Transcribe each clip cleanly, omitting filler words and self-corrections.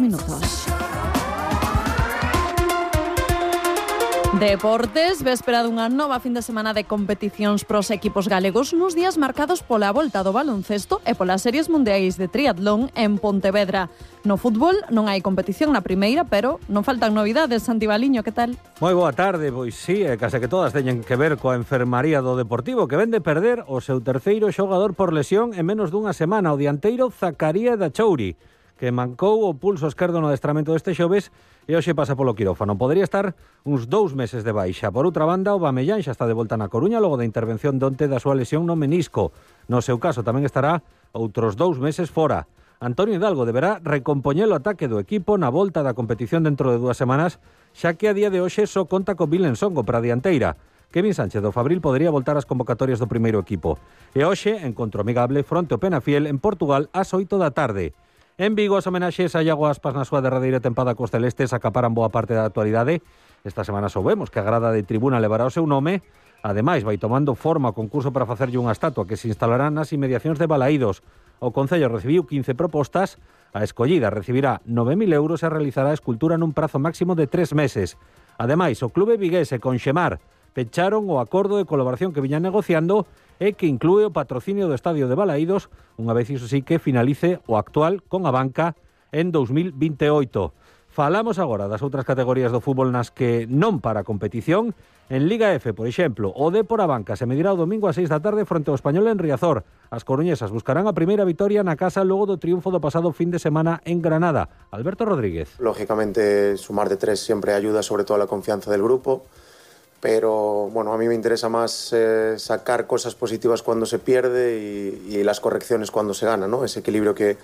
minutos. Deportes, véspera dunha nova fin de semana de competicións pros equipos galegos nos días marcados pola volta do baloncesto e polas series mundiais de triatlón en Pontevedra. No fútbol non hai competición na primeira, pero non faltan novidades. Santi Baliño, que tal? Moi boa tarde, pois sí, case que todas teñen que ver coa enfermaría do Deportivo, que ven de perder o seu terceiro xogador por lesión en menos dunha semana, o dianteiro Zacaría Dachouri, que mancou o pulso esquerdo no adestramento deste xoves e hoxe pasa polo quirófano. Podería estar uns 2 meses de baixa. Por outra banda, o Bamellán xa está de volta na Coruña logo da intervención de onte da súa lesión no menisco. No seu caso tamén estará outros 2 meses fora. Antonio Hidalgo deberá recompoñer o ataque do equipo na volta da competición dentro de 2 semanas, xa que a día de hoxe só conta con Vilen Songo para a dianteira. Kevin Sánchez do Fabril podería voltar ás convocatorias do primeiro equipo. E hoxe, encontro amigable fronte ao Penafiel en Portugal ás 8 da tarde. En Vigo, as homenaxes a Iago Aspas na súa derradeira tempada cos celestes acaparan boa parte da actualidade. Esta semana soubemos que a grada de tribuna levará o seu nome. Ademais, vai tomando forma o concurso para facerlle unha estatua que se instalará nas inmediacións de Balaídos. O Concello recibiu 15 propostas. A escollida recibirá 9.000 euros e realizará a escultura nun prazo máximo de 3 meses. Ademais, o clube viguese con Xemar pecharon o acordo de colaboración que viñan negociando e que inclúe o patrocinio do estadio de Balaídos, unha vez iso sí que finalice o actual con a banca en 2028. Falamos agora das outras categorías do fútbol nas que non para a competición. En Liga F, por exemplo, o Dépor a banca se medirá o domingo a 6 da tarde fronte ao Español en Riazor. As coruñesas buscarán a primeira vitoria na casa logo do triunfo do pasado fin de semana en Granada. Alberto Rodríguez. Lógicamente, sumar de 3 siempre ayuda, sobre todo a la confianza del grupo. Pero bueno, a mí me interesa más sacar cosas positivas cuando se pierde y las correcciones cuando se gana, ¿no? Ese equilibrio que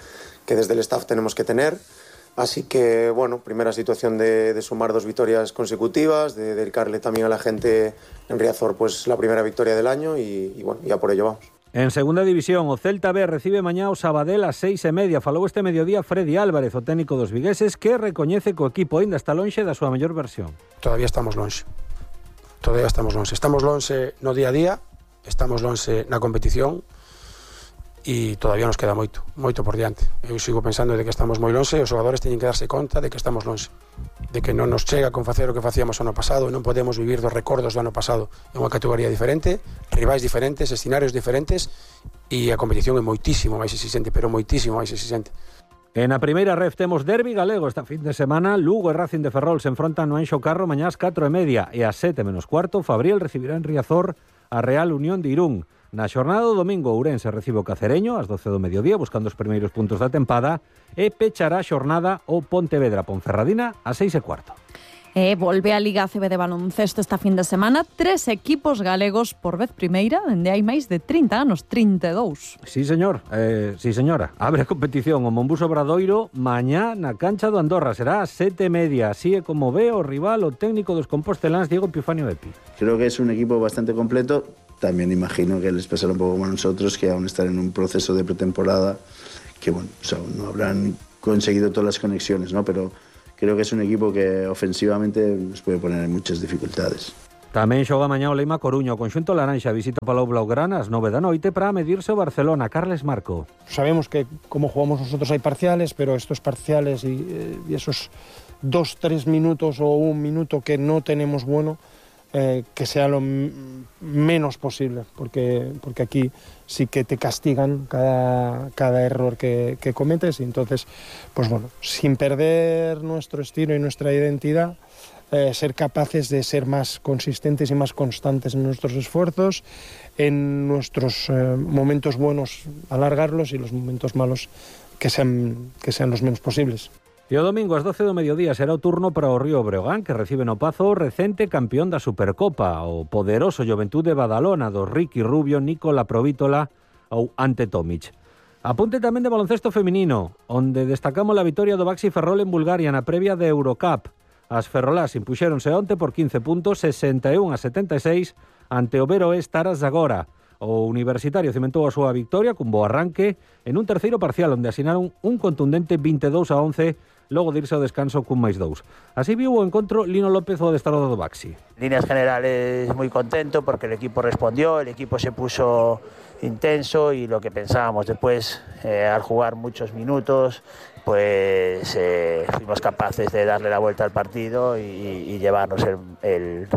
desde el staff tenemos que tener. Así que, bueno, primera situación de sumar 2 victorias consecutivas, de dedicarle también a la gente en Riazor pues la primera victoria del año y bueno, ya por ello vamos. En segunda división, o Celta B recibe mañá o Sabadell ás 6:30. Falou este mediodía Freddy Álvarez, o técnico dos vigueses, que recoñece que o equipo aínda está lonxe da súa mellor versión. Todavía estamos lonxe. Estamos lonxe no día a día, estamos lonxe na competición e todavía nos queda moito por diante. Eu sigo pensando de que estamos moi lonxe e os xogadores teñen que darse conta de que estamos lonxe, de que non nos chega con facer o que facíamos ano pasado e non podemos vivir dos recordos do ano pasado. É unha categoría diferente, rivais diferentes, escenarios diferentes e a competición é moitísimo máis exixente, pero moitísimo máis exixente. En a primeira ref temos derbi galego esta fin de semana. Lugo e Racing de Ferrol se enfrontan no Anxo Carro mañá ás 4:30 e ás 7:15 Fabriel recibirá en Riazor a Real Unión de Irún. Na xornada do domingo, Ourense recibe o Cacereño ás 12 do mediodía buscando os primeiros puntos da tempada e pechará a xornada o Pontevedra Ponferradina ás 6:15. Volve a Liga ACB de baloncesto esta fin de semana. 3 equipos galegos por vez primeira, dende hai máis de 30 anos, 32. Sí, señor, sí, señora. Abre a competición o Monbuso Obradoiro mañá na cancha do Andorra. Será ás 7:30. Así é como ve o rival, o técnico dos composteláns, Diego Epifanio Epi. Creo que es un equipo bastante completo. También imagino que les pasará un poco como a nosotros, que aún están en un proceso de pretemporada, que bueno, o sea, no habrán conseguido todas las conexiones, ¿no? Pero creo que es un equipo que ofensivamente nos puede poner en muchas dificultades. Tamén xoga mañá o Leima Coruña. O conxunto laranxa visita Palau Blaugrana ás 9 da noite para medirse o Barcelona. Carles Marco. Sabemos que como jugamos nosotros hay parciales, pero estos parciales y esos 2-3 minutos o 1 minuto que no tenemos bueno, que sea lo menos posible, porque aquí sí que te castigan cada error que cometes, y entonces, pues bueno, sin perder nuestro estilo y nuestra identidad, ser capaces de ser más consistentes y más constantes en nuestros esfuerzos, en nuestros momentos buenos alargarlos y los momentos malos que sean los menos posibles. E o domingo ás 12 do mediodía será o turno para o Río Breogán, que recibe no Pazo o recente campeón da Supercopa, o poderoso Juventud de Badalona, do Ricky Rubio, Nicola Provítola ou Ante Tomic. Apunte tamén de baloncesto feminino, onde destacamos a vitoria do Baxi Ferrol en Bulgaria na previa de Eurocup. As ferrolás impuxéronse onte por 15 puntos, 61-76, ante o Veroes Taras Zagora. O Universitario cimentou a súa victoria cun bo arranque en un terceiro parcial onde asinaron un contundente 22-11 logo de irse ao descanso cun +2. Así viu o encontro Lino López, o adestrador do Baxi. En líneas generales muy contento porque el equipo respondió, el equipo se puso intenso y lo que pensábamos después, al jugar muchos minutos, pues fuimos capaces de darle la vuelta al partido y llevarnos el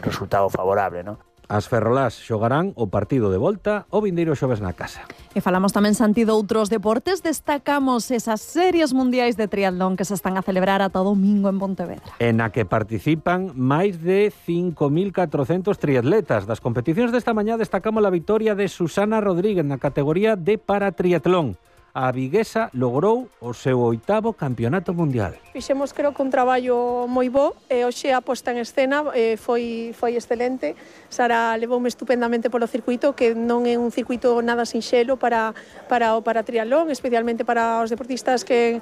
resultado favorable, ¿no? As ferrolás xogarán o partido de volta o vindeiro xoves na casa. E falamos tamén, Santi, de outros deportes. Destacamos esas series mundiais de triatlón que se están a celebrar ata domingo en Pontevedra. En a que participan máis de 5.400 triatletas. Das competicións desta mañá destacamos a victoria de Susana Rodríguez na categoría de paratriatlón. A viguesa logrou o seu 8º campeonato mundial. Fixemos, creo, que un traballo moi bo e hoxe a posta en escena foi excelente. Sara levoume estupendamente polo circuito, que non é un circuito nada sinxelo para o triatlón, especialmente para os deportistas que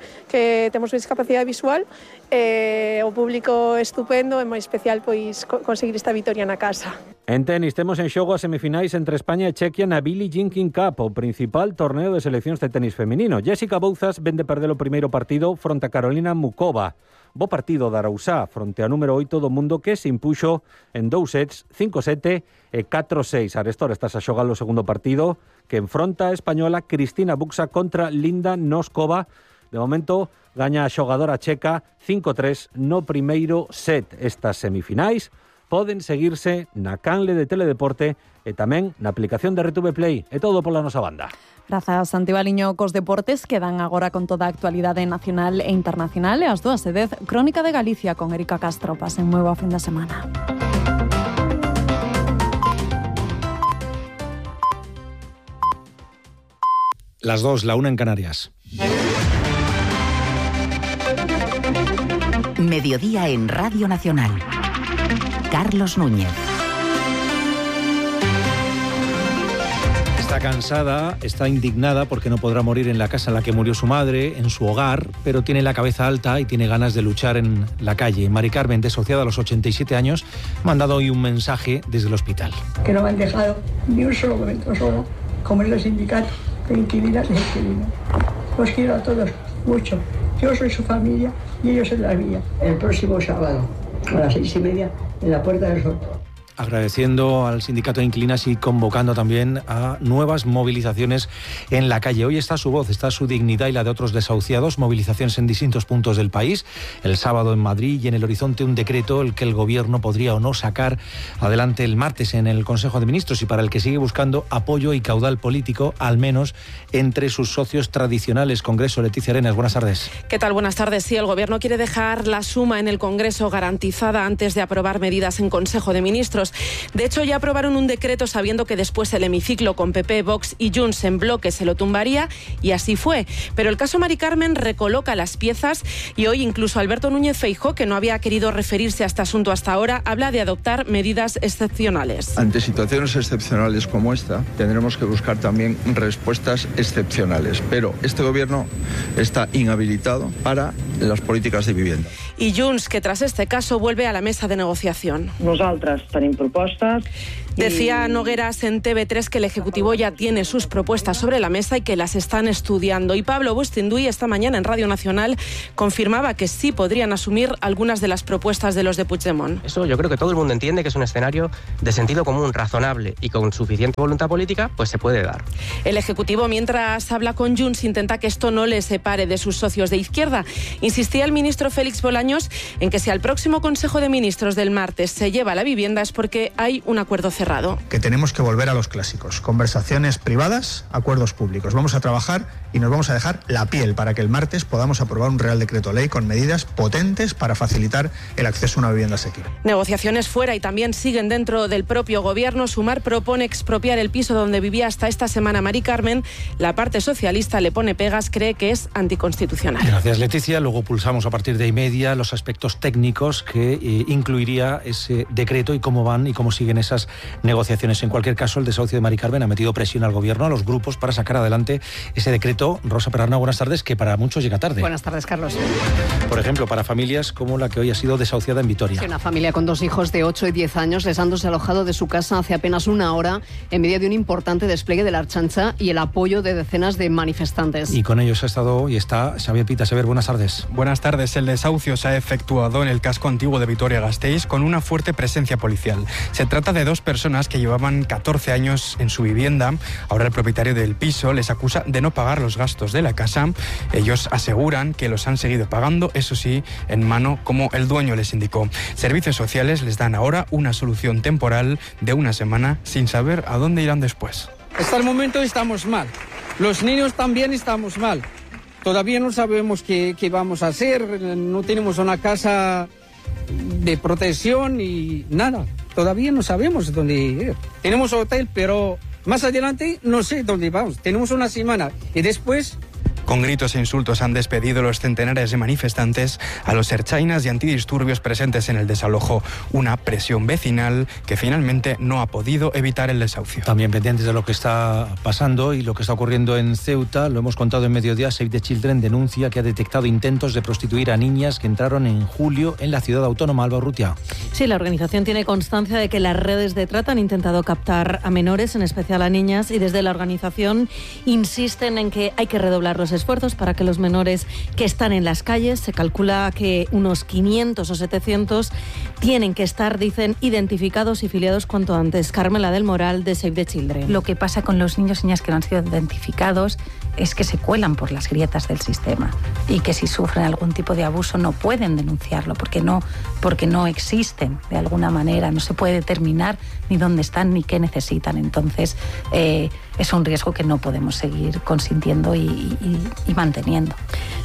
temos discapacidade visual. O público estupendo e moi especial pois conseguir esta vitoria na casa. En tenis temos en xogo as semifinais entre España e Chequia na Billie Jean King Cup, o principal torneo de seleccións de tenis feminino. Jessica Bouzas vende perder o primeiro partido fronte a Carolina Mukova. Bo partido da Arausá fronte a número 8 do mundo, que se impuxo en 2 sets, 5-7 e 4-6. Arestor estás a xogar o segundo partido, que enfronta a española Cristina Buxa contra Linda Noskova. De momento gaña a xogadora checa 5-3 no primeiro set. Estas semifinais poden seguirse na canle de Teledeporte e tamén na aplicación de RTV Play. É todo pola nosa banda. Grazas, Santi Baliño, cos deportes quedan agora con toda a actualidade nacional e internacional. E ás 2:10, Crónica de Galicia con Erika Castro. Pasen moi boa fin de semana. Las 2, la 1 en Canarias. Mediodía en Radio Nacional. Carlos Núñez. Está cansada, está indignada porque no podrá morir en la casa en la que murió su madre, en su hogar, pero tiene la cabeza alta y tiene ganas de luchar en la calle. Mari Carmen, desociada a los 87 años, ha mandado hoy un mensaje desde el hospital. Que no me han dejado ni un solo momento sola, como en los sindicatos de inquilinas e inquilinos. Los quiero a todos mucho. Yo soy su familia y ellos en la mía. El próximo sábado, a las 6:30, en la Puerta del Sol. Agradeciendo al sindicato de inquilinas y convocando también a nuevas movilizaciones en la calle. Hoy está su voz, está su dignidad y la de otros desahuciados. Movilizaciones en distintos puntos del país. El sábado en Madrid y en el horizonte un decreto el que el gobierno podría o no sacar adelante el martes en el Consejo de Ministros y para el que sigue buscando apoyo y caudal político, al menos entre sus socios tradicionales. Congreso, Leticia Arenas, buenas tardes. ¿Qué tal? Buenas tardes. Sí, el gobierno quiere dejar la suma en el Congreso garantizada antes de aprobar medidas en Consejo de Ministros. De hecho, ya aprobaron un decreto sabiendo que después el hemiciclo con PP, Vox y Junts en bloque se lo tumbaría, y así fue. Pero el caso Mari Carmen recoloca las piezas y hoy incluso Alberto Núñez Feijóo, que no había querido referirse a este asunto hasta ahora, habla de adoptar medidas excepcionales. Ante situaciones excepcionales como esta, tendremos que buscar también respuestas excepcionales. Pero este gobierno está inhabilitado para las políticas de vivienda. Y Junts, que tras este caso vuelve a la mesa de negociación. Nosaltres tenim propostes. Decía Nogueras en TV3 que el Ejecutivo ya tiene sus propuestas sobre la mesa y que las están estudiando. Y Pablo Bustinduy esta mañana en Radio Nacional confirmaba que sí podrían asumir algunas de las propuestas de los de Puigdemont. Eso yo creo que todo el mundo entiende que es un escenario de sentido común, razonable y con suficiente voluntad política, pues se puede dar. El Ejecutivo, mientras habla con Junts, intenta que esto no le separe de sus socios de izquierda. Insistía el ministro Félix Bolaños en que si al próximo Consejo de Ministros del martes se lleva la vivienda es porque hay un acuerdo cerrado. Que tenemos que volver a los clásicos, conversaciones privadas, acuerdos públicos. Vamos a trabajar y nos vamos a dejar la piel para que el martes podamos aprobar un Real Decreto Ley con medidas potentes para facilitar el acceso a una vivienda asequible. Negociaciones fuera y también siguen dentro del propio gobierno. Sumar propone expropiar el piso donde vivía hasta esta semana Mari Carmen. La parte socialista le pone pegas, cree que es anticonstitucional. Gracias, Leticia. Luego pulsamos a partir de ahí media los aspectos técnicos que incluiría ese decreto y cómo van y cómo siguen esas negociaciones. En cualquier caso, el desahucio de Mari Carmen ha metido presión al gobierno, a los grupos, para sacar adelante ese decreto. Rosa Perarnau, buenas tardes, que para muchos llega tarde. Buenas tardes, Carlos. Por ejemplo, para familias como la que hoy ha sido desahuciada en Vitoria. Sí, una familia con 2 hijos de 8 y 10 años les han desalojado de su casa hace apenas una hora en medio de un importante despliegue de la Ertzaintza y el apoyo de decenas de manifestantes. Y con ellos ha estado y está Xavier Pita. Xavier, buenas tardes. Buenas tardes. El desahucio se ha efectuado en el casco antiguo de Vitoria-Gasteiz con una fuerte presencia policial. Se trata de 2 personas que llevaban 14 años en su vivienda. Ahora el propietario del piso les acusa de no pagar los gastos de la casa. Ellos aseguran que los han seguido pagando, eso sí, en mano, como el dueño les indicó. Servicios sociales les dan ahora una solución temporal de una semana sin saber a dónde irán después. Hasta el momento estamos mal. Los niños también estamos mal. Todavía no sabemos qué vamos a hacer. No tenemos una casa de protección y nada. Todavía no sabemos dónde ir. Tenemos hotel, pero más adelante no sé dónde vamos. Tenemos una semana y después... Con gritos e insultos han despedido los centenares de manifestantes a los ertzainas y antidisturbios presentes en el desalojo. Una presión vecinal que finalmente no ha podido evitar el desahucio. También pendientes de lo que está pasando y lo que está ocurriendo en Ceuta, lo hemos contado en Mediodía. Save the Children denuncia que ha detectado intentos de prostituir a niñas que entraron en julio en la ciudad autónoma. Alba Urrutia. Sí, la organización tiene constancia de que las redes de trata han intentado captar a menores, en especial a niñas, y desde la organización insisten en que hay que redoblar los esfuerzos para que los menores que están en las calles, se calcula que unos 500 o 700 tienen que estar, dicen, identificados y filiados cuanto antes. Carmela del Moral, de Save the Children. Lo que pasa con los niños y niñas que no han sido identificados es que se cuelan por las grietas del sistema y que si sufren algún tipo de abuso no pueden denunciarlo porque no existen de alguna manera, no se puede determinar ni dónde están ni qué necesitan. Entonces es un riesgo que no podemos seguir consintiendo y manteniendo.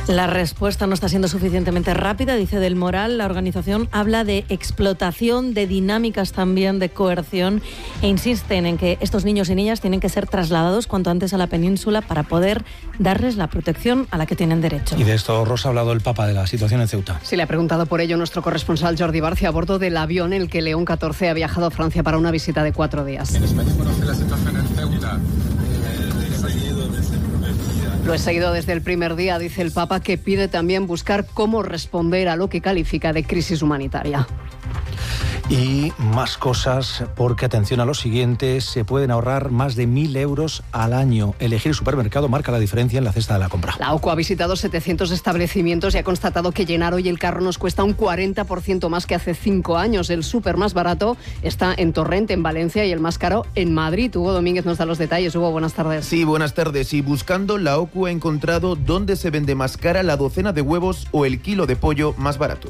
La respuesta no está siendo suficientemente rápida, dice Del Moral. La organización habla de explotación, de dinámicas también de coerción, e insisten en que estos niños y niñas tienen que ser trasladados cuanto antes a la península para poder darles la protección a la que tienen derecho. Y de esto, Rosa, ha hablado el Papa de la situación en Ceuta. Sí, le ha preguntado por ello nuestro corresponsal Jordi Barcia a bordo del avión en el que León XIV ha viajado a Francia para una visita de 4 días. En España conoce la situación en Ceuta. Lo he seguido desde el primer día, dice el Papa, que pide también buscar cómo responder a lo que califica de crisis humanitaria. Y más cosas, porque atención a lo siguiente, se pueden ahorrar más de 1.000 euros al año. Elegir supermercado marca la diferencia en la cesta de la compra. La OCU ha visitado 700 establecimientos y ha constatado que llenar hoy el carro nos cuesta un 40% más que hace 5 años. El súper más barato está en Torrent, en Valencia, y el más caro en Madrid. Hugo Domínguez nos da los detalles. Hugo, buenas tardes. Sí, buenas tardes. Y buscando, la OCU ha encontrado dónde se vende más cara la docena de huevos o el kilo de pollo más barato.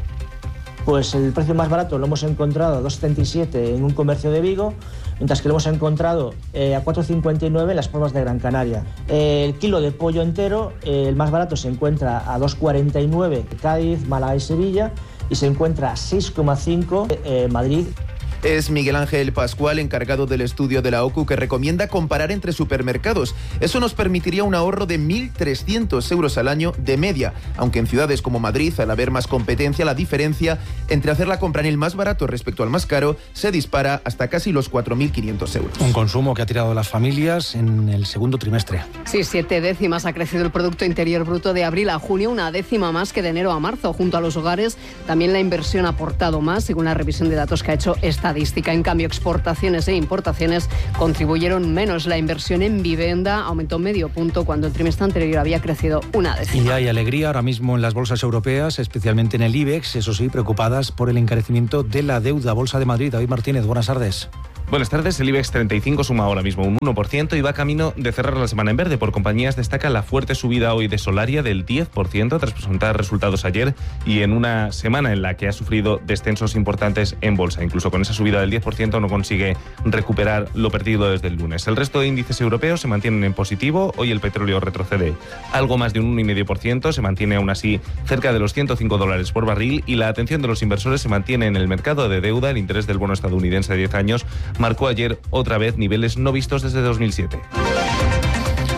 Pues el precio más barato lo hemos encontrado a 2,77 en un comercio de Vigo, mientras que lo hemos encontrado a 4,59 en las Palmas de Gran Canaria. El kilo de pollo entero, el más barato se encuentra a 2,49 en Cádiz, Málaga y Sevilla, y se encuentra a 6,5 en Madrid. Es Miguel Ángel Pascual, encargado del estudio de la OCU, que recomienda comparar entre supermercados. Eso nos permitiría un ahorro de 1.300 euros al año de media, aunque en ciudades como Madrid, al haber más competencia, la diferencia entre hacer la compra en el más barato respecto al más caro se dispara hasta casi los 4.500 euros. Un consumo que ha tirado las familias en el segundo trimestre. Sí, 7 décimas ha crecido el Producto Interior Bruto de abril a junio, 1 décima más que de enero a marzo. Junto a los hogares, también la inversión ha aportado más, según la revisión de datos que ha hecho Estadística. En cambio, exportaciones e importaciones contribuyeron menos. La inversión en vivienda aumentó medio punto cuando el trimestre anterior había crecido 1 décima. Y hay alegría ahora mismo en las bolsas europeas, especialmente en el IBEX, eso sí, preocupadas por el encarecimiento de la deuda. Bolsa de Madrid, David Martínez, buenas tardes. Buenas tardes. El IBEX 35 suma ahora mismo un 1% y va camino de cerrar la semana en verde. Por compañías destaca la fuerte subida hoy de Solaria del 10% tras presentar resultados ayer y en una semana en la que ha sufrido descensos importantes en bolsa. Incluso con esa subida del 10% no consigue recuperar lo perdido desde el lunes. El resto de índices europeos se mantienen en positivo. Hoy el petróleo retrocede algo más de un 1,5%, se mantiene aún así cerca de los $105 por barril y la atención de los inversores se mantiene en el mercado de deuda. El interés del bono estadounidense de 10 años marcó ayer otra vez niveles no vistos desde 2007.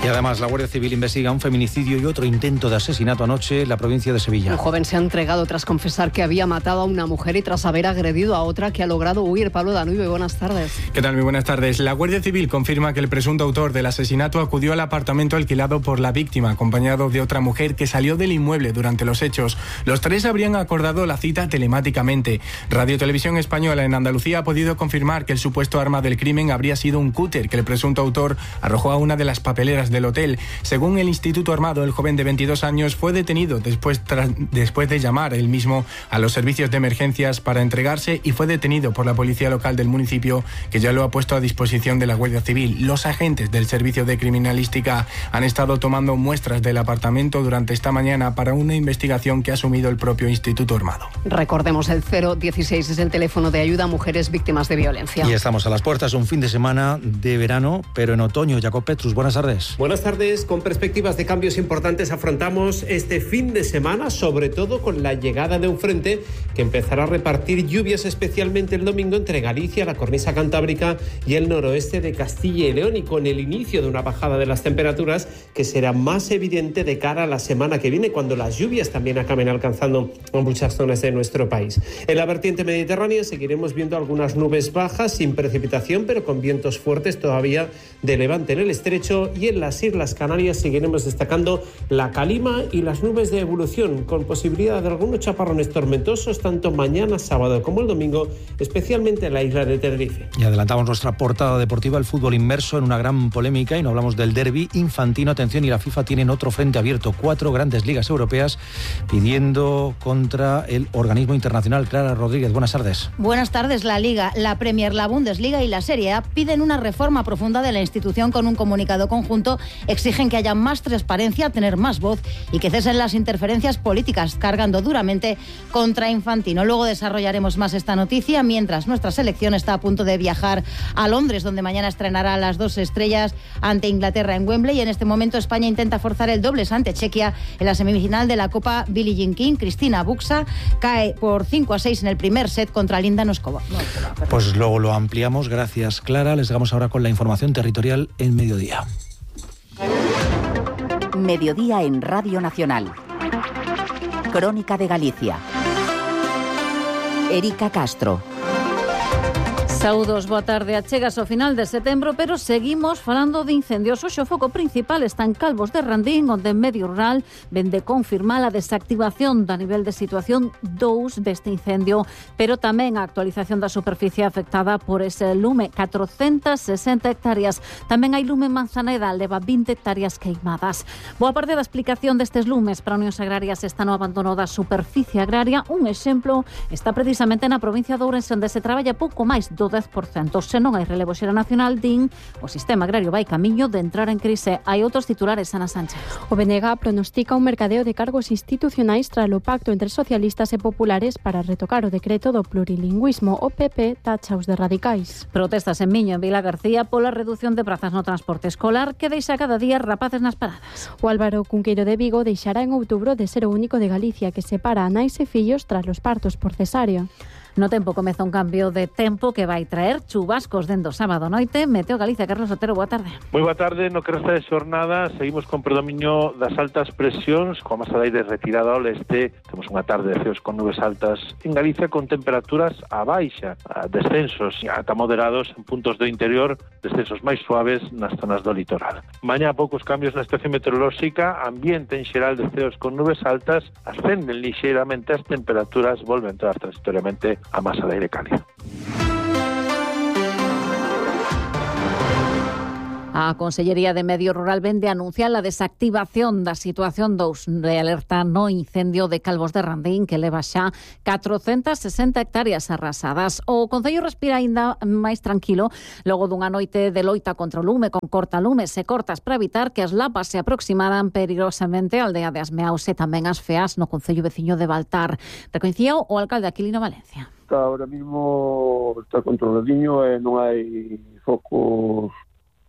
Y además, la Guardia Civil investiga un feminicidio y otro intento de asesinato anoche en la provincia de Sevilla. Un joven se ha entregado tras confesar que había matado a una mujer y tras haber agredido a otra que ha logrado huir. Pablo Danuibe, buenas tardes. ¿Qué tal? Muy buenas tardes. La Guardia Civil confirma que el presunto autor del asesinato acudió al apartamento alquilado por la víctima, acompañado de otra mujer que salió del inmueble durante los hechos. Los tres habrían acordado la cita telemáticamente. Radio Televisión Española en Andalucía ha podido confirmar que el supuesto arma del crimen habría sido un cúter que el presunto autor arrojó a una de las papeleras del hotel. Según el Instituto Armado, el joven de 22 años fue detenido después de llamar él mismo a los servicios de emergencias para entregarse y fue detenido por la policía local del municipio, que ya lo ha puesto a disposición de la Guardia Civil. Los agentes del Servicio de Criminalística han estado tomando muestras del apartamento durante esta mañana para una investigación que ha asumido el propio Instituto Armado. Recordemos, el 016 es el teléfono de ayuda a mujeres víctimas de violencia. Y estamos a las puertas, un fin de semana de verano, pero en otoño. Jacob Petrus, buenas tardes. Buenas tardes. Con perspectivas de cambios importantes afrontamos este fin de semana, sobre todo con la llegada de un frente que empezará a repartir lluvias especialmente el domingo entre Galicia, la cornisa cantábrica y el noroeste de Castilla y León, y con el inicio de una bajada de las temperaturas que será más evidente de cara a la semana que viene, cuando las lluvias también acaben alcanzando muchas zonas de nuestro país. En la vertiente mediterránea seguiremos viendo algunas nubes bajas sin precipitación, pero con vientos fuertes todavía de levante en el estrecho, y en las Islas Canarias seguiremos destacando la calima y las nubes de evolución, con posibilidad de algunos chaparrones tormentosos tanto mañana sábado como el domingo, especialmente en la isla de Tenerife. Y adelantamos nuestra portada deportiva, el fútbol inmerso en una gran polémica, y no hablamos del derbi infantino. Atención, y la FIFA tienen otro frente abierto, 4 grandes ligas europeas pidiendo contra el organismo internacional. Clara Rodríguez, buenas tardes. Buenas tardes. La Liga, la Premier, la Bundesliga y la Serie A piden una reforma profunda de la institución. Con un comunicado conjunto exigen que haya más transparencia, tener más voz y que cesen las interferencias políticas, cargando duramente contra Infantino. Luego desarrollaremos más esta noticia, mientras nuestra selección está a punto de viajar a Londres, donde mañana estrenará a las 2 estrellas ante Inglaterra en Wembley. Y en este momento España intenta forzar el dobles ante Chequia en la semifinal de la Copa Billie Jean King. Cristina Buxa cae por 5-6 en el primer set contra Linda Noskova. Pues luego lo ampliamos. Gracias, Clara. Les damos ahora con la información territorial en Mediodía. Mediodía en Radio Nacional. Crónica de Galicia. Erika Castro. Saúdos, boa tarde. Achegas ao final de setembro, pero seguimos falando de incendios. Hoxe o foco principal está en Calvos de Randín, onde en medio rural vende confirmar a desactivación da nivel de situación 2 deste incendio, pero tamén a actualización da superficie afectada por ese lume, 460 hectáreas. Tamén hai lume en Manzaneda, leva 20 hectáreas queimadas. Boa parte da explicación destes lumes para Unións Agrarias está no abandono da superficie agraria. Un exemplo está precisamente na provincia de Ourense, onde se traballa pouco máis do 10%. Se non hai relevo xeracional, din, o sistema agrario vai camiño de entrar en crise. Hai outros titulares, Ana Sánchez. O BNG pronostica un mercadeo de cargos institucionais tras o pacto entre socialistas e populares para retocar o decreto do plurilingüismo. O PP tacha os de radicais. Protestas en Miño, en Vila García, pola reducción de prazas no transporte escolar, que deixa cada día rapaces nas paradas. O Álvaro Cunqueiro de Vigo deixará en outubro de ser o único de Galicia que separa a nais e fillos tras os partos por cesárea. No tempo comeza un cambio de tempo que vai traer chubascos dende o sábado noite. Meteo Galicia, Carlos Otero, boa tarde. Moi boa tarde. No que resta de xornada seguimos con predominio das altas presións, coa masa de aire retirada ao leste. Temos unha tarde de ceos con nubes altas en Galicia, con temperaturas a baixa, descensos ata moderados en puntos do interior, descensos máis suaves nas zonas do litoral. Mañá poucos cambios na estación meteorolóxica, ambiente en xeral de ceos con nubes altas, ascenden lixeiramente as temperaturas, volven a entrar transitoriamente a masa de aire cálido. A Consellería de Medio Rural vende anunciar a desactivación da situación 2 de alerta no incendio de Calvos de Randín, que leva xa 460 hectáreas arrasadas. O Concello respira aínda máis tranquilo logo dunha noite de loita contra o lume, con cortalumes e cortas para evitar que as lapas se aproximaran perigosamente á aldea de Asmeaus e tamén as feas no Concello veciño de Baltar. Recoñecía o alcalde Aquilino Valencia. Ahora mismo está controladiño e non hai focos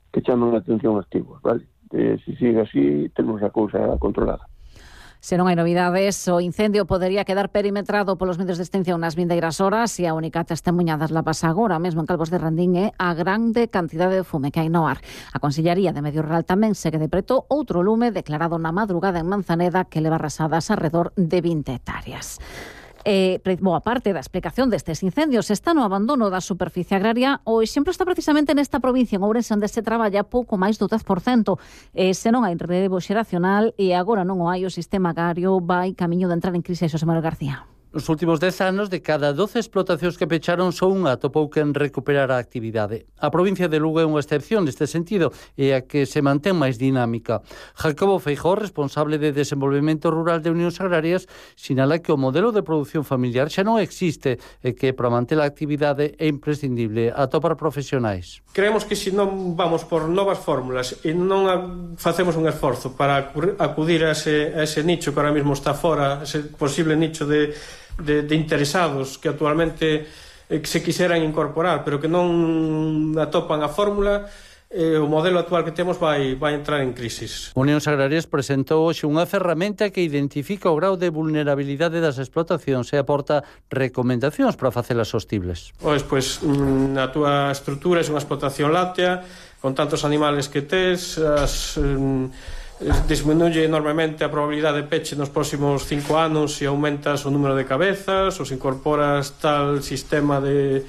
que chaman a atención activos, vale? Se sigue así, temos a cousa controlada. Se non hai novidades, o incendio podería quedar perimetrado polos medios de extinción nas vindeiras horas e a única testemunha das lapas agora mesmo en Calvos de Randín é a grande cantidade de fume que hai no ar. A Consellería de Medio Rural tamén segue de preto outro lume declarado na madrugada en Manzaneda que leva arrasadas alrededor de 20 hectáreas. Boa parte da explicación destes incendios está no abandono da superficie agraria. O exemplo está precisamente nesta provincia, en Ourense, onde se traballa pouco máis do 10%. Se non hai relevo xeracional e agora non o hai, o sistema agrario vai camiño de entrar en crise. Xosé Manuel García. Nos últimos 10 anos, de cada 12 explotacións que pecharon, só unha atopou quen recuperar a actividade. A provincia de Lugo é unha excepción neste sentido e a que se mantén máis dinámica. Jacobo Feijóo, responsable de Desenvolvemento Rural de Unións Agrarias, sinala que o modelo de produción familiar xa non existe e que para manter a actividade é imprescindible atopar profesionais. Creemos que se non vamos por novas fórmulas e non facemos un esforzo para acudir a ese nicho que ahora mismo está fora, ese posible nicho de interesados que actualmente se quixeran incorporar, pero que non atopan a fórmula, o modelo actual que temos vai entrar en crisis. Unións Agrarias presentou hoxe unha ferramenta que identifica o grau de vulnerabilidade das explotacións e aporta recomendacións para facelas sostibles. Pois na túa estrutura é unha explotación láctea, con tantos animales que tes, disminuye enormemente a probabilidade de peche nos próximos 5 anos se aumentas o número de cabezas, ou se incorporas tal sistema de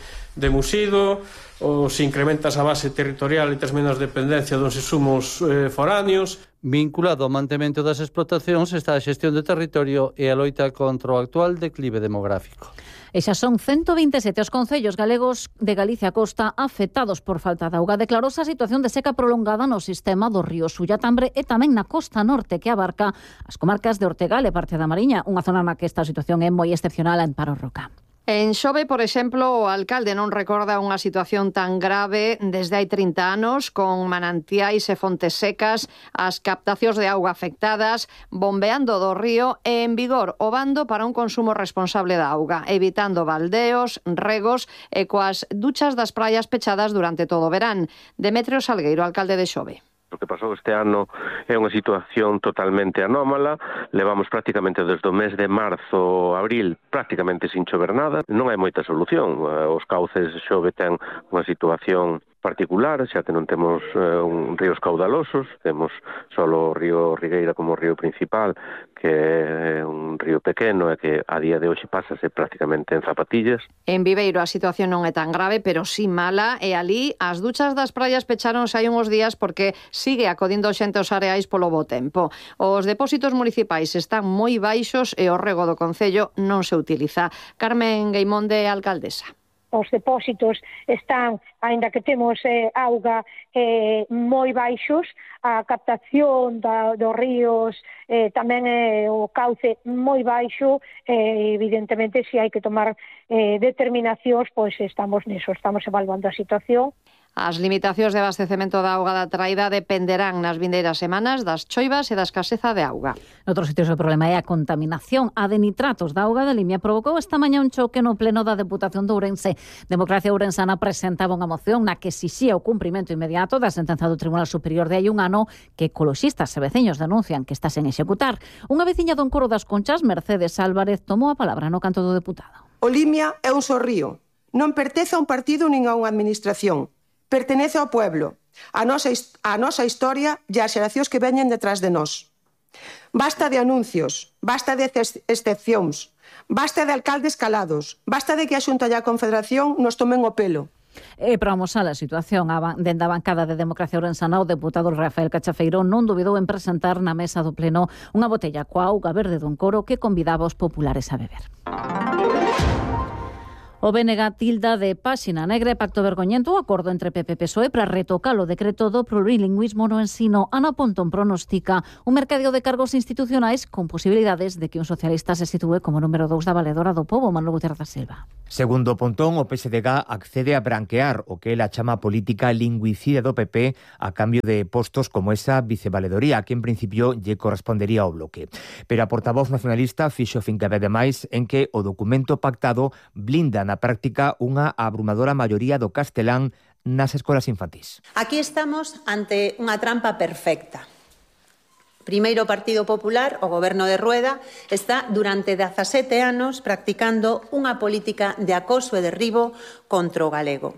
musido, ou se incrementas a base territorial e tes menos dependencia dos insumos foráneos. Vinculado ao mantemento das explotacións está a xestión de territorio e a loita contra o actual declive demográfico. E xa son 127 os concellos galegos de Galicia Costa afectados por falta de auga. Declarouse a situación de seca prolongada no sistema do río Sulla-Tambre e tamén na costa norte que abarca as comarcas de Ortegal e parte da Mariña, unha zona na que esta situación é moi excepcional. En Amparo Roca. En Xove, por exemplo, o alcalde non recorda unha situación tan grave desde hai 30 anos, con manantiais e fontes secas, as captacións de auga afectadas, bombeando do río e en vigor o bando para un consumo responsable da auga, evitando baldeos, regos e coas duchas das praias pechadas durante todo o verán. Demetrio Salgueiro, alcalde de Xove. O que pasou este ano é unha situación totalmente anómala. Levamos prácticamente desde o mes de marzo, abril, prácticamente sin chover nada. Non hai moita solución. Os cauces de Xove ten unha situación particular, xa que non temos ríos caudalosos, temos só o río Rigueira como río principal, que é un río pequeno e que a día de hoxe pásase prácticamente en zapatillas. En Viveiro a situación non é tan grave, pero sí mala, e alí as duchas das praias pecharonse hai uns días porque sigue acodindo xente aos areais polo bo tempo. Os depósitos municipais están moi baixos e o rego do concello non se utiliza. Carmen Gueimonde, alcaldesa. Os depósitos están, aínda que temos auga, moi baixos, a captación dos ríos tamén o cauce moi baixo, evidentemente se hai que tomar determinacións, pois estamos niso, estamos evaluando a situación. As limitacións de abastecemento da auga da traída dependerán nas vindeiras semanas das choivas e da escaseza de auga. Noutros sitios o problema é a contaminación. A de nitratos da auga da Limia provocou esta mañá un choque no pleno da Deputación de Ourense. Democracia Ourensana presentaba unha moción na que exixía o cumprimento inmediato da sentenza do Tribunal Superior de hai un ano que ecoloxistas e veciños denuncian que está sen executar. Unha veciña do Encoro das Conchas, Mercedes Álvarez, tomou a palabra no canto do deputado. O Limia é un só río. Non pertence a un partido nin a unha administración. Pertenece ao pueblo, a nosa historia e as xeracións que veñen detrás de nós. Basta de anuncios, basta de excepcións, basta de alcaldes calados, basta de que a Xunta e a Confederación nos tomen o pelo. E para amosar a situación, dende a bancada de Democracia Ourensana, o deputado Rafael Cachafeiro non dubidou en presentar na mesa do pleno unha botella coa auga verde do Encoro que convidaba os populares a beber. O BNG tilda de páxina negra e pacto vergoñento o acordo entre PP e PSOE para retocar o decreto do plurilingüismo no ensino. Ana Pontón pronostica un mercadeo de cargos institucionais con posibilidades de que un socialista se sitúe como número 2 da valedora do pobo, Manuel Gutiérrez da Silva. Segundo Pontón, o PSDG accede a branquear o que ela chama política lingüicida do PP a cambio de postos como esa vicevaledoría, que en principio lle correspondería ao bloque. Pero a portavoz nacionalista fixo fincapé ademais en que o documento pactado blinda na práctica unha abrumadora maioría do castelán nas escolas infantís. Aquí estamos ante unha trampa perfecta. Primeiro, o Partido Popular, o goberno de Rueda, está durante 17 anos practicando unha política de acoso e derribo contra o galego.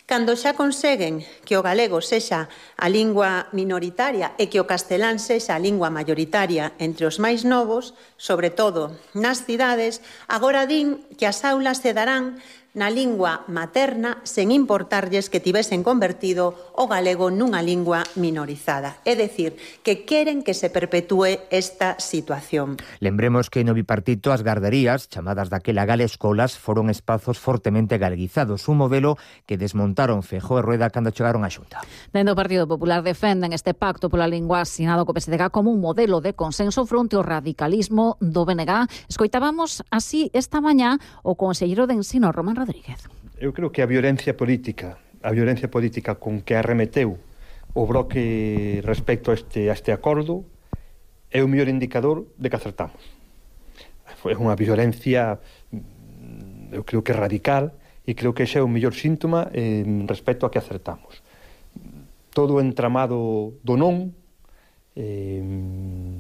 Cando xa conseguen que o galego sexa a lingua minoritaria e que o castelán sexa a lingua maioritaria entre os máis novos, sobre todo nas cidades, agora din que as aulas se darán na lingua materna sen importarlles que tivesen convertido o galego nunha lingua minorizada. É dicir, que queren que se perpetúe esta situación. Lembremos que no bipartito as garderías, chamadas daquela galescolas, foron espazos fortemente galeguizados, un modelo que desmontaron Feijóo e Rueda cando chegaron á Xunta. Dende o Partido Popular defenden este pacto pola lingua asinado co PSDG como un modelo de consenso fronte ao radicalismo do BNG. Escoitábamos así esta mañá o conselleiro de Ensino, Román Rodríguez. Eu creo que a violencia política con que arremeteu o bloque respecto a este acordo é o mellor indicador de que acertamos. É unha violencia, eu creo que radical, e creo que ese é o mellor síntoma respecto a que acertamos. Todo o entramado do non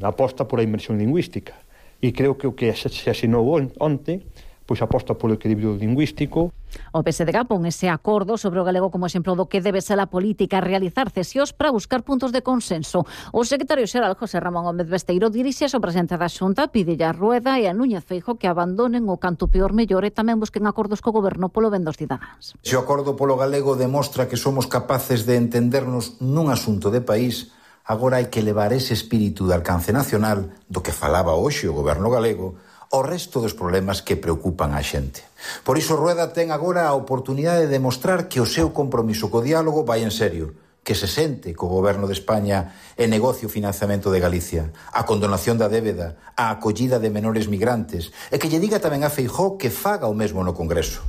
aposta por a inmersión lingüística, e creo que o que se asinou onte pois aposta polo equilibrio lingüístico. O PSDG pon ese acordo sobre o galego como exemplo do que debe ser a política, realizar cesións para buscar puntos de consenso. O secretario xeral José Ramón Gómez Besteiro dirixe ao presidente da Xunta, pídelle a Rueda e a Núñez Feijóo que abandonen o canto peor mellor e tamén busquen acordos co goberno polo ben dos cidadáns. Se o acordo polo galego demostra que somos capaces de entendernos nun asunto de país, agora hai que levar ese espírito de alcance nacional do que falaba hoxe o goberno galego o resto dos problemas que preocupan a xente. Por iso Rueda ten agora a oportunidade de demostrar que o seu compromiso co diálogo vai en serio, que se sente co goberno de España e negocie o financiamento de Galicia, a condonación da débeda, a acollida de menores migrantes, e que lle diga tamén a Feijóo que faga o mesmo no Congreso.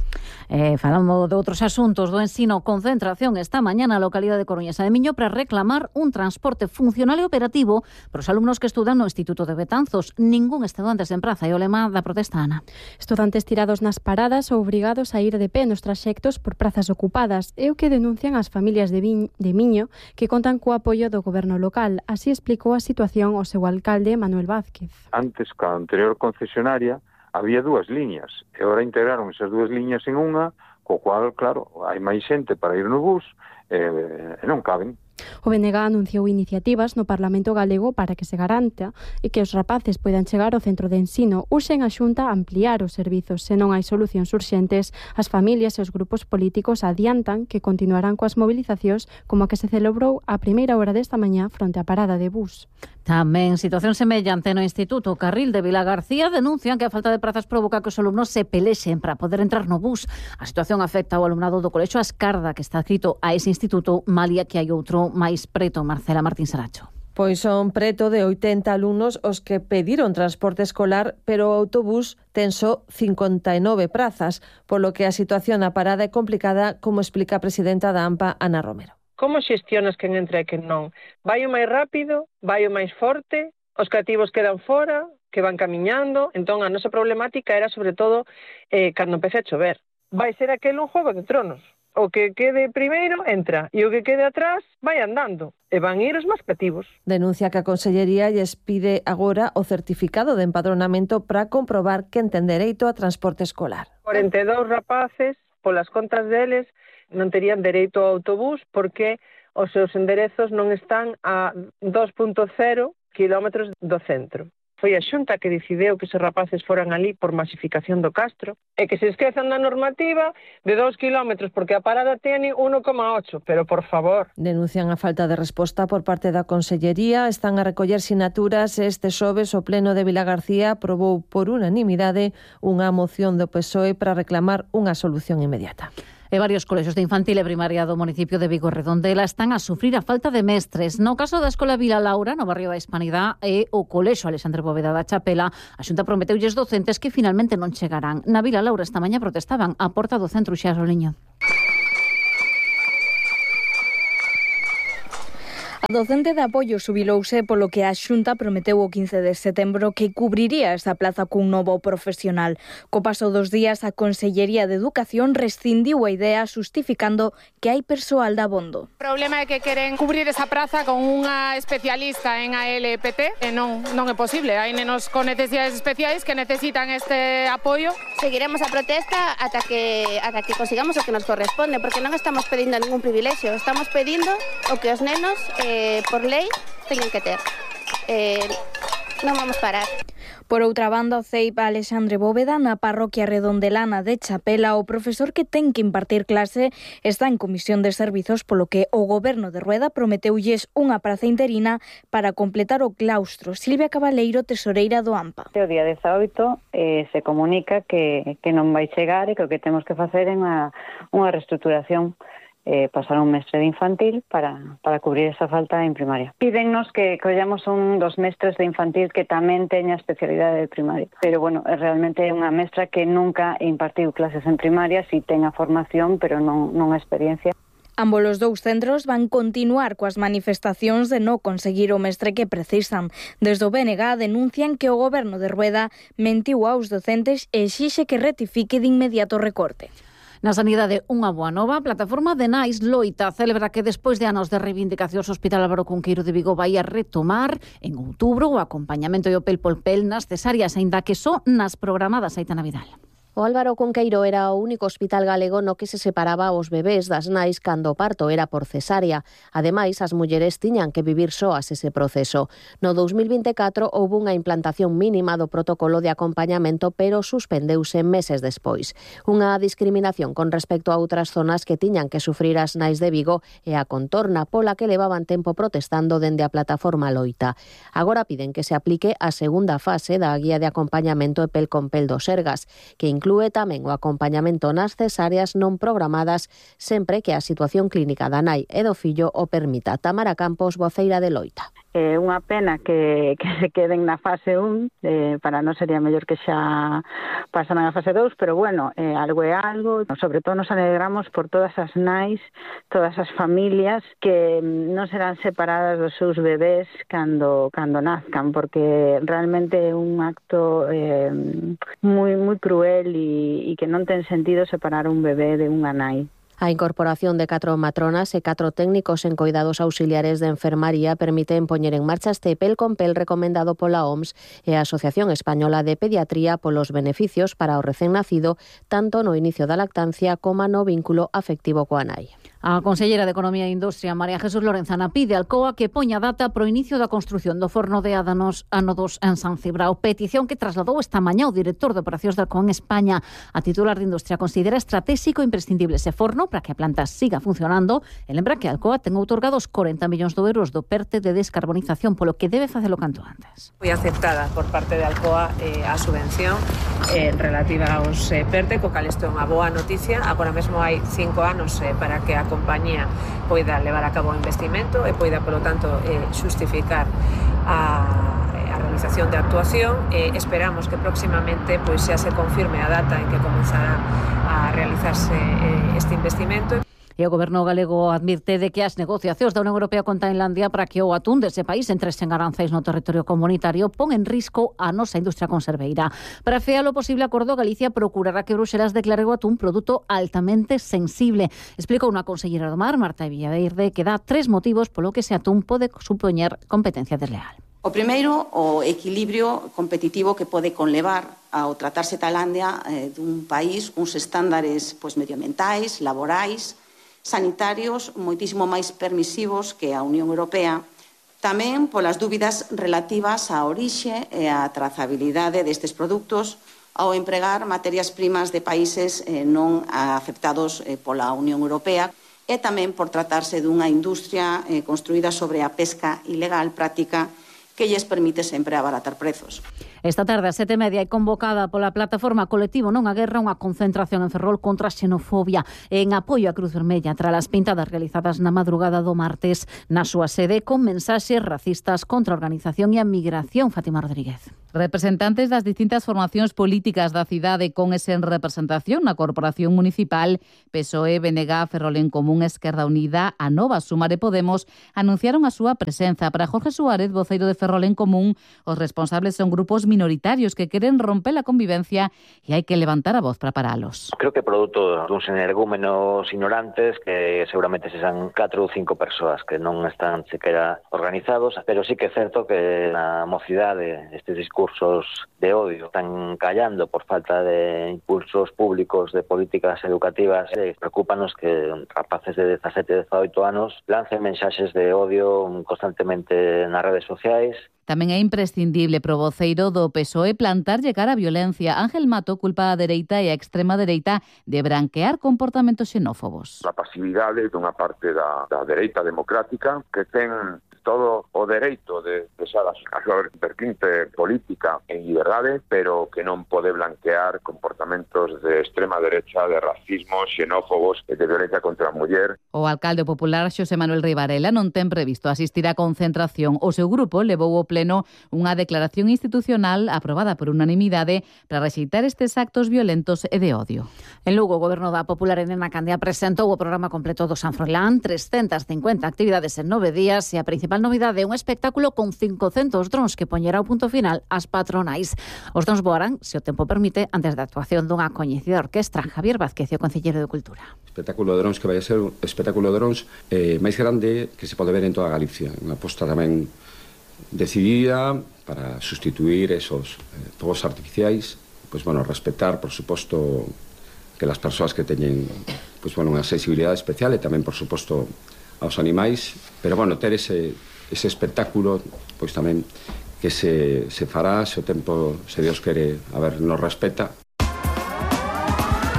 Falando de outros asuntos do ensino, concentración esta mañá na localidade de Coruñesa de Miño para reclamar un transporte funcional e operativo para os alumnos que estudan no Instituto de Betanzos. Ningún estudante en praza e o lema da protesta, Ana. Estudantes tirados nas paradas ou obrigados a ir de pé nos traxectos por prazas ocupadas é o que denuncian as familias de Miño que contan co apoio do goberno local. Así explicou a situación o seu alcalde Manuel Vázquez. Antes, ca anterior concesionaria, había dúas liñas, e agora integraron esas dúas liñas en unha, co cual, claro, hai máis xente para ir no bus e non caben. O BNG anunciou iniciativas no Parlamento galego para que se garanta e que os rapaces poidan chegar ao centro de ensino. Uxen a Xunta a ampliar os servizos. Se non hai solucións urxentes, as familias e os grupos políticos adiantan que continuarán coas movilizacións como a que se celebrou a primeira hora desta mañá fronte á parada de bus. Tamén situación semellante no Instituto Carril de Vilagarcía denuncian que a falta de prazas provoca que os alumnos se pelexen para poder entrar no bus. A situación afecta ao alumnado do Colexio Ascarda, que está adscrito a ese instituto, malia que hai outro máis preto. Marcela Martín Saracho. Pois son preto de 80 alumnos os que pediron transporte escolar, pero o autobús ten só 59 prazas, polo que a situación na parada é complicada, como explica a presidenta da AMPA, Ana Romero. Como xestionas quen entra e quen non? Vai o máis rápido, vai o máis forte, os cativos quedan fora, que van camiñando. Entón a nosa problemática era sobre todo cando empece a chover. Vai ser aquel un Juego de Tronos. O que quede primeiro entra e o que quede atrás vai andando e van ir os máis cativos. Denuncia que a Consellería lles pide agora o certificado de empadronamento para comprobar que ten dereito a transporte escolar. 42 rapaces, polas contas deles, non terían dereito ao autobús porque os seus enderezos non están a 2,0 kilómetros do centro. Foi a Xunta que decideu que esos rapaces foran ali por masificación do Castro e que se esquezan da normativa de 2 kilómetros porque a parada tiene 1,8, pero por favor. Denuncian a falta de resposta por parte da Consellería, están a recoller sinaturas e este xoves o Pleno de Vilagarcía aprobou por unanimidade unha moción do PSOE para reclamar unha solución inmediata. E varios colexios de infantil e primaria do municipio de Vigo Redondela están a sufrir a falta de mestres. No caso da Escola Vila Laura, no barrio da Hispanidade, e o Colexio Alexandre Bóveda da Chapela, a Xunta prometeulles docentes que finalmente non chegarán. Na Vila Laura esta mañá protestaban a porta do centro Uxía Soliño. A docente de apoio xubilouse polo que a Xunta prometeu o 15 de setembro que cubriría esa plaza cun novo profesional. Co paso dos días, a Consellería de Educación rescindiu a idea xustificando que hai persoal de abondo. O problema é que queren cubrir esa praza con unha especialista en ALPT e non é posible. Hai nenos con necesidades especiais que necesitan este apoio. Seguiremos a protesta ata que consigamos o que nos corresponde, porque non estamos pedindo ningún privilexio, estamos pedindo o que os nenos por lei teñen que ter. Non vamos parar. Por outra banda, o CEIP Alexandre Bóveda, na parroquia redondelana de Chapela, o profesor que ten que impartir clase está en comisión de servizos, polo que o goberno de Rueda prometeulles unha praza interina para completar o claustro. Silvia Cabaleiro, tesoreira do AMPA. O día 18 se comunica que non vai chegar e que o que temos que facer é unha reestruturación, pasar un mestre de infantil para cubrir esa falta en primaria. Pídennos que collamos un dos mestres de infantil que tamén teña especialidade de primaria. Pero, bueno, realmente é unha mestra que nunca impartiu clases en primaria, si ten a formación, pero non a experiencia. Ambos os dous centros van continuar coas manifestacións de non conseguir o mestre que precisan. Desde o BNG denuncian que o goberno de Rueda mentiu aos docentes e exixe que rectifique de inmediato o recorte. Na sanidade, unha boa nova, a plataforma de Nais loita celebra que despois de anos de reivindicacións o Hospital Álvaro Cunqueiro de Vigo vai a retomar en outubro o acompañamento e o pel por pel nas cesáreas, aínda que só nas programadas. Aitana Vidal. O Álvaro Cunqueiro era o único hospital galego no que se separaba os bebés das nais cando o parto era por cesárea. Ademais, as mulleres tiñan que vivir soas ese proceso. No 2024 houve unha implantación mínima do protocolo de acompañamento, pero suspendeuse meses despois. Unha discriminación con respecto a outras zonas que tiñan que sufrir as nais de Vigo e a contorna pola que levaban tempo protestando dende a plataforma loita. Agora piden que se aplique a segunda fase da guía de acompañamento e pel con pel do Sergas, que inclúe tamén o acompañamento nas cesáreas non programadas sempre que a situación clínica da nai e do fillo o permita. Tamara Campos, voceira de loita. É unha pena que se queden na fase 1, para non sería mellor que xa pasaran a fase 2, pero bueno, algo é algo. Sobre todo nos alegramos por todas as nais, todas as familias que non serán separadas dos seus bebés cando nazcan, porque realmente é un acto moi cruel e que non ten sentido separar un bebé de unha nai. A incorporación de 4 matronas e 4 técnicos en coidados auxiliares de enfermaría permiten poñer en marcha este pel con pel recomendado pola OMS e a Asociación Española de Pediatría polos beneficios para o recén nacido tanto no inicio da lactancia como no vínculo afectivo coa nai. A conselleira de Economía e Industria, María Jesús Lorenzana, pide al COA que poña data pro inicio da construción do forno de Ádanos ano 2 en San Cibrao. Petición que trasladou esta mañá o director de operacións da COA en España. A titular de Industria considera estratégico e imprescindible ese forno para que a planta siga funcionando e lembra que a Alcoa ten outorgados 40 millóns de euros do PERTE de descarbonización, polo que debe facelo canto antes. Foi aceptada por parte de Alcoa a subvención relativa aos PERTE, co cal isto é unha boa noticia. Agora mesmo hai 5 anos para que a compañía poida levar a cabo o investimento e poida, polo tanto, xustificar a realización de actuación. Esperamos que próximamente pois xa se confirme a data en que comenzará a realizarse este investimento. E o goberno galego advirte de que as negociacións da Unión Europea con Tailandia para que o atún dese país entre sen aranceis no territorio comunitario pon en risco a nosa industria conserveira. Para fear o posible acordo, Galicia procurará que Bruxelas declare o atún produto altamente sensible. Explicou unha consellera do Mar, Marta Villaverde, que dá 3 motivos polo que ese atún pode supoñer competencia desleal. O primeiro, o equilibrio competitivo que pode conlevar ao tratarse Tailandia dun país uns estándares medioambientais, laborais, sanitarios moitísimo máis permisivos que a Unión Europea, tamén polas dúbidas relativas á orixe e á trazabilidade destes produtos ao empregar materias primas de países non aceptados pola Unión Europea e tamén por tratarse dunha industria construída sobre a pesca ilegal práctica que lles permite sempre abaratar prezos. Esta tarde, a 7:30, hai convocada pola plataforma Colectivo Non a Guerra unha concentración en Ferrol contra a xenofobia en apoio á Cruz Vermella tras as pintadas realizadas na madrugada do martes na súa sede con mensaxes racistas contra a organización e a migración. Fátima Rodríguez. Representantes das distintas formacións políticas da cidade con ese en representación na Corporación Municipal, PSOE, BNG, Ferrol en Común, Esquerda Unida, a Nova, Sumar e Podemos anunciaron a súa presenza. Para Jorge Suárez, voceiro de Ferrol en Común, os responsables son grupos minoritarios que queren romper a convivencia e hai que levantar a voz para paralos. Creo que produto duns energúmenos ignorantes que seguramente se san 4 ou 5 persoas que non están sequera organizados, pero sí que é certo que na mocidade estes discursos de odio están callando por falta de impulsos públicos de políticas educativas. Preocúpanos que rapaces de 17 e 18 anos lancen mensaxes de odio constantemente nas redes sociais. Tamén é imprescindible pro voceiro do PSOE plantar cara a violencia. Ángel Mato culpa a dereita e a extrema dereita de branquear comportamentos xenófobos. A pasividade dunha parte da dereita democrática que ten todo o dereito de expresar a súa vertente política en liberdade, pero que non pode blanquear comportamentos de extrema derecha, de racismo, xenófobos e de violencia contra a muller. O alcalde popular Xosé Manuel Rei Varela non ten previsto asistir á concentración. O seu grupo levou ao pleno unha declaración institucional aprobada por unanimidade para rexeitar estes actos violentos e de odio. En Lugo, o Goberno da Popular Elena Candia presentou o programa completo do San Froilán, 350 actividades en 9 días e a principal novidade é un espectáculo con 500 drons que poñerá o punto final ás patronais. Os drons voarán, se o tempo permite, antes da actuación dunha coñecida orquestra. Javier Vázquez, o concelleiro de Cultura. Espectáculo de drons que vai a ser o espectáculo de drons máis grande que se pode ver en toda Galicia. Unha aposta tamén decidida para sustituir esos fogos artificiais, respetar, por suposto, que las persoas que teñen unha sensibilidade especial e tamén, por suposto, aos animais, pero ter ese espectáculo tamén que se fará se o tempo, se Dios quere, nos respeta.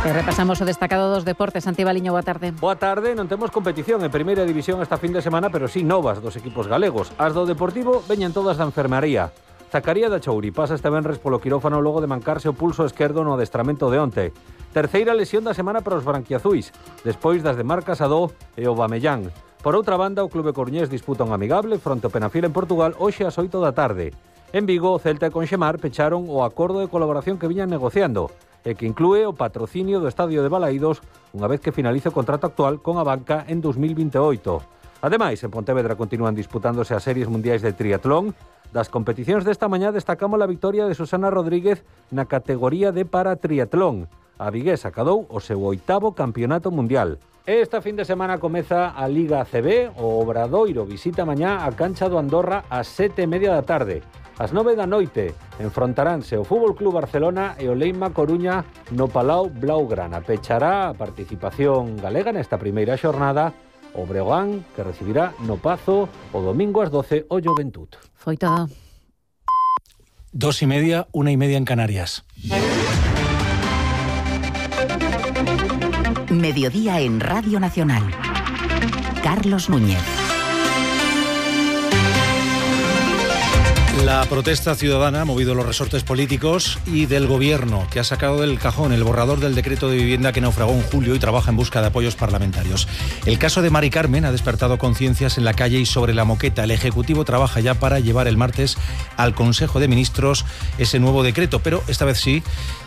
E repasamos o destacado dos deportes. Santi Baliño, boa tarde. Boa tarde, non temos competición en primeira división esta fin de semana, pero sí novas dos equipos galegos. As do Deportivo veñen todas da enfermaría. Zacaría da Chouri pasa este venres polo quirófano logo de mancarse o pulso esquerdo no adestramento de onte. Terceira lesión da semana para os branquiazuis, despois das de Marc Casado e o Bamellán. Por outra banda, o Clube Coruñés disputa un amigable fronte ao Penafiel en Portugal hoxe ás 8 da tarde. En Vigo, o Celta e Conxemar pecharon o acordo de colaboración que viñan negociando e que inclúe o patrocinio do estadio de Balaídos unha vez que finalice o contrato actual con a banca en 2028. Ademais, en Pontevedra continúan disputándose as series mundiais de triatlón. Das competicións desta mañá destacamos a victoria de Susana Rodríguez na categoría de paratriatlón. A viguesa acadou o seu 8º campeonato mundial. Esta fin de semana comeza a Liga ACB. O Obradoiro visita mañá a cancha do Andorra ás 7:30 da tarde. Ás 9 da noite enfrontaránse o Fútbol Club Barcelona e o Leima Coruña no Palau Blaugrana. Pechará a participación galega nesta primeira xornada o Breogán, que recibirá no Pazo o domingo ás 12 o Joventut. Foi todo. 2:30, 1:30 en Canarias. Mediodía en Radio Nacional. Carlos Núñez. La protesta ciudadana ha movido los resortes políticos y del gobierno, que ha sacado del cajón el borrador del decreto de vivienda que naufragó en julio y trabaja en busca de apoyos parlamentarios. El caso de Mari Carmen ha despertado conciencias en la calle y sobre la moqueta. El Ejecutivo trabaja ya para llevar el martes al Consejo de Ministros ese nuevo decreto, pero esta vez sí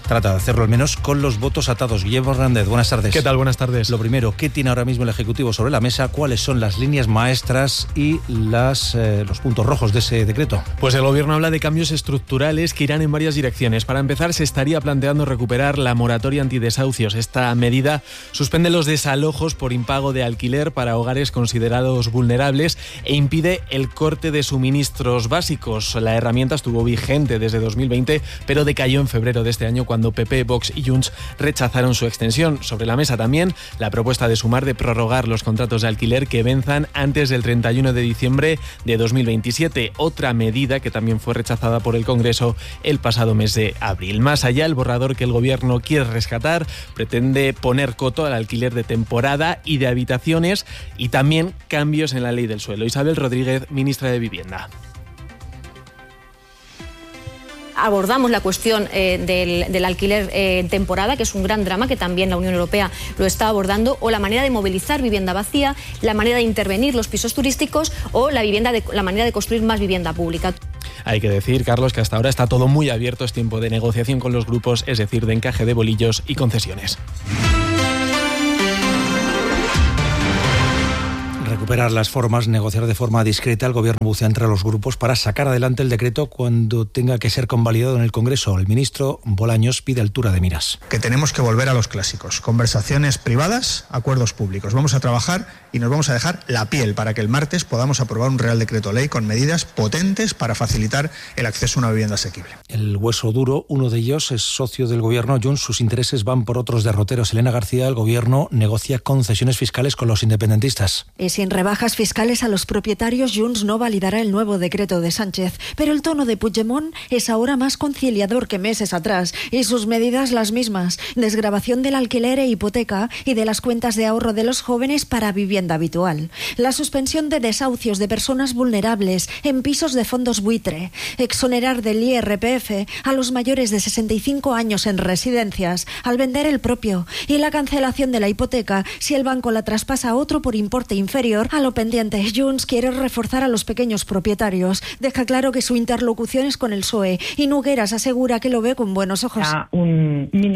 trata de hacerlo al menos con los votos atados. Guillermo Hernández, buenas tardes. ¿Qué tal? Buenas tardes. Lo primero, ¿qué tiene ahora mismo el Ejecutivo sobre la mesa? ¿Cuáles son las líneas maestras y los puntos rojos de ese decreto? Pues el Gobierno habla de cambios estructurales que irán en varias direcciones. Para empezar, se estaría planteando recuperar la moratoria antidesahucios. Esta medida suspende los desalojos por impago de alquiler para hogares considerados vulnerables e impide el corte de suministros básicos. La herramienta estuvo vigente desde 2020, pero decayó en febrero de este año cuando PP, Vox y Junts rechazaron su extensión. Sobre la mesa también la propuesta de Sumar de prorrogar los contratos de alquiler que venzan antes del 31 de diciembre de 2027. Otra medida que también fue rechazada por el Congreso el pasado mes de abril. Más allá, el borrador que el Gobierno quiere rescatar pretende poner coto al alquiler de temporada y de habitaciones y también cambios en la ley del suelo. Isabel Rodríguez, ministra de Vivienda. abordamos la cuestión del alquiler en temporada, que es un gran drama que también la Unión Europea lo está abordando, o la manera de movilizar vivienda vacía, la manera de intervenir los pisos turísticos o la manera de construir más vivienda pública. Hay que decir, Carlos, que hasta ahora está todo muy abierto, es tiempo de negociación con los grupos, es decir, de encaje de bolillos y concesiones. Recuperar las formas, negociar de forma discreta. El Gobierno bucea entre los grupos para sacar adelante el decreto cuando tenga que ser convalidado en el Congreso. El ministro Bolaños pide altura de miras. Que tenemos que volver a los clásicos. Conversaciones privadas, acuerdos públicos. Vamos a trabajar y nos vamos a dejar la piel para que el martes podamos aprobar un Real Decreto Ley con medidas potentes para facilitar el acceso a una vivienda asequible. El hueso duro, uno de ellos es socio del Gobierno. Junts, sus intereses van por otros derroteros. Elena García, el Gobierno negocia concesiones fiscales con los independentistas. Sin rebajas fiscales a los propietarios, Junts no validará el nuevo decreto de Sánchez. Pero el tono de Puigdemont es ahora más conciliador que meses atrás y sus medidas las mismas. Desgravación del alquiler e hipoteca y de las cuentas de ahorro de los jóvenes para vivienda habitual. La suspensión de desahucios de personas vulnerables en pisos de fondos buitre. Exonerar del IRPF a los mayores de 65 años en residencias al vender el propio. Y la cancelación de la hipoteca si el banco la traspasa a otro por importe inferior a lo pendiente. Junts quiere reforzar a los pequeños propietarios. Deja claro que su interlocución es con el PSOE y Nogueras asegura que lo ve con buenos ojos.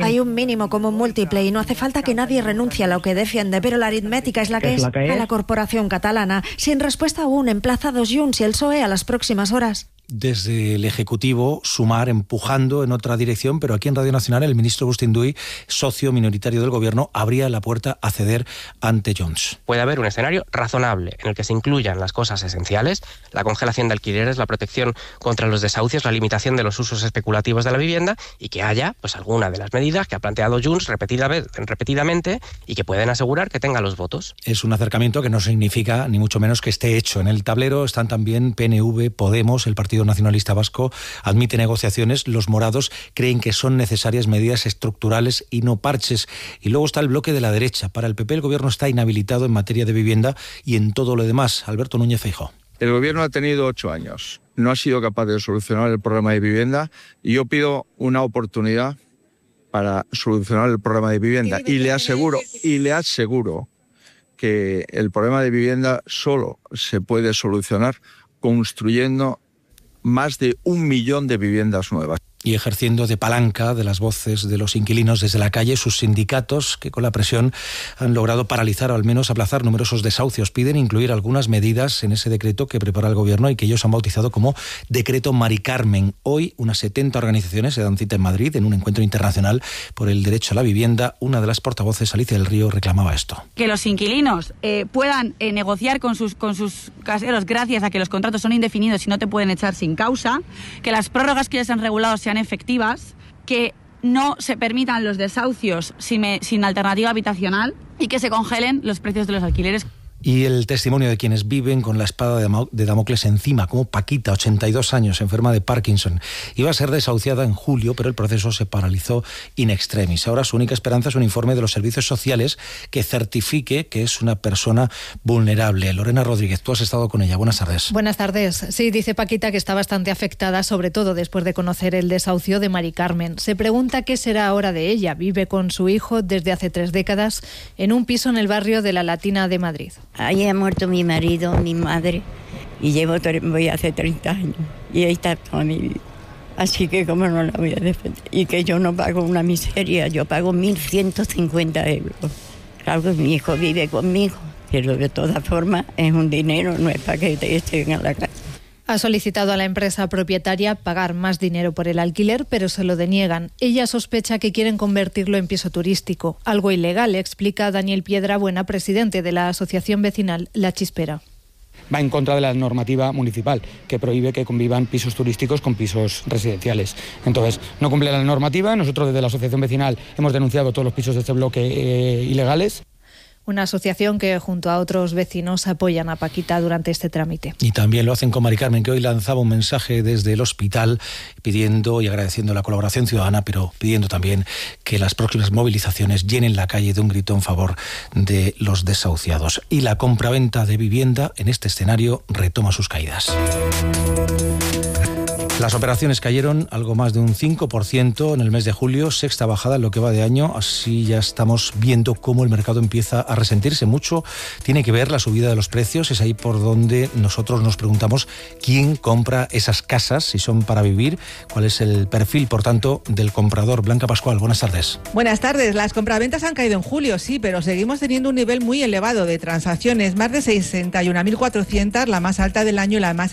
Hay un mínimo común múltiple y no hace falta que nadie renuncie a lo que defiende, pero la aritmética es la que es. A la corporación catalana. Sin respuesta aún, emplazados Junts y el PSOE a las próximas horas. Desde el Ejecutivo, Sumar empujando en otra dirección, pero aquí en Radio Nacional el ministro Agustín Duy, socio minoritario del Gobierno, abría la puerta a ceder ante Junts. Puede haber un escenario razonable en el que se incluyan las cosas esenciales, la congelación de alquileres, la protección contra los desahucios, la limitación de los usos especulativos de la vivienda y que haya pues alguna de las medidas que ha planteado Junts repetidamente y que pueden asegurar que tenga los votos. Es un acercamiento que no significa ni mucho menos que esté hecho. En el tablero están también PNV, Podemos, el Partido Nacionalista Vasco admite negociaciones. Los morados creen que son necesarias medidas estructurales y no parches. Y luego está el bloque de la derecha. Para el PP el Gobierno está inhabilitado en materia de vivienda y en todo lo demás. Alberto Núñez Feijóo. El Gobierno ha tenido 8 años. No ha sido capaz de solucionar el problema de vivienda y yo pido una oportunidad para solucionar el problema de vivienda. Y le aseguro que el problema de vivienda solo se puede solucionar construyendo más de 1 millón de viviendas nuevas. Y ejerciendo de palanca de las voces de los inquilinos desde la calle, sus sindicatos, que con la presión han logrado paralizar o al menos aplazar numerosos desahucios, piden incluir algunas medidas en ese decreto que prepara el Gobierno y que ellos han bautizado como Decreto Mari Carmen. Hoy unas 70 organizaciones se dan cita en Madrid en un encuentro internacional por el derecho a la vivienda. Una de las portavoces, Alicia del Río, reclamaba esto. Que los inquilinos puedan negociar con sus caseros gracias a que los contratos son indefinidos y no te pueden echar sin causa, que las prórrogas que ya se han regulado sean efectivas, que no se permitan los desahucios sin alternativa habitacional y que se congelen los precios de los alquileres. Y el testimonio de quienes viven con la espada de Damocles encima, como Paquita, 82 años, enferma de Parkinson. Iba a ser desahuciada en julio, pero el proceso se paralizó in extremis. Ahora su única esperanza es un informe de los servicios sociales que certifique que es una persona vulnerable. Lorena Rodríguez, tú has estado con ella. Buenas tardes. Buenas tardes. Sí, dice Paquita que está bastante afectada, sobre todo después de conocer el desahucio de Mari Carmen. Se pregunta qué será ahora de ella. Vive con su hijo desde hace 3 décadas en un piso en el barrio de La Latina de Madrid. Ahí ha muerto mi marido, mi madre, y voy hace 30 años, y ahí está toda mi vida. Así que cómo no la voy a defender. Y que yo no pago una miseria, yo pago 1.150 euros. Claro que mi hijo vive conmigo, pero de todas formas es un dinero, no es para que estén en la calle. Ha solicitado a la empresa propietaria pagar más dinero por el alquiler, pero se lo deniegan. Ella sospecha que quieren convertirlo en piso turístico, algo ilegal, explica Daniel Piedrabuena, presidente de la asociación vecinal La Chispera. Va en contra de la normativa municipal, que prohíbe que convivan pisos turísticos con pisos residenciales. Entonces, no cumple la normativa. Nosotros desde la asociación vecinal hemos denunciado todos los pisos de este bloque ilegales. Una asociación que junto a otros vecinos apoyan a Paquita durante este trámite. Y también lo hacen con Mari Carmen, que hoy lanzaba un mensaje desde el hospital pidiendo y agradeciendo la colaboración ciudadana, pero pidiendo también que las próximas movilizaciones llenen la calle de un grito en favor de los desahuciados. Y la compraventa de vivienda en este escenario retoma sus caídas. Las operaciones cayeron algo más de un 5% en el mes de julio, sexta bajada en lo que va de año, así ya estamos viendo cómo el mercado empieza a resentirse. Mucho tiene que ver la subida de los precios, es ahí por donde nosotros nos preguntamos quién compra esas casas, si son para vivir, cuál es el perfil, por tanto, del comprador. Blanca Pascual, buenas tardes. Buenas tardes. Las compraventas han caído en julio, sí, pero seguimos teniendo un nivel muy elevado de transacciones, más de 61.400, la más alta del año y la más elevada